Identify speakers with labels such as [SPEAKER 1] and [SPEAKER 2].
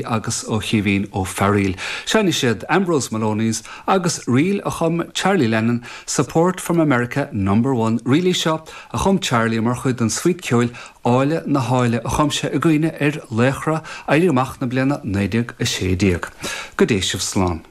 [SPEAKER 1] Agus ó Chaoimhín Ó Fearaíl. Seinnfidh siad Ambrose Maloney's agus ríl a chum Charlie Lennon, Support from America Number One. Ríl í seo a chum Charlie mar chuid den svuít ceoil Áille na hÁille a chum sé i gcuimhne ar laochra Éirí Amach na bliana 1916. Go dté sibh slán.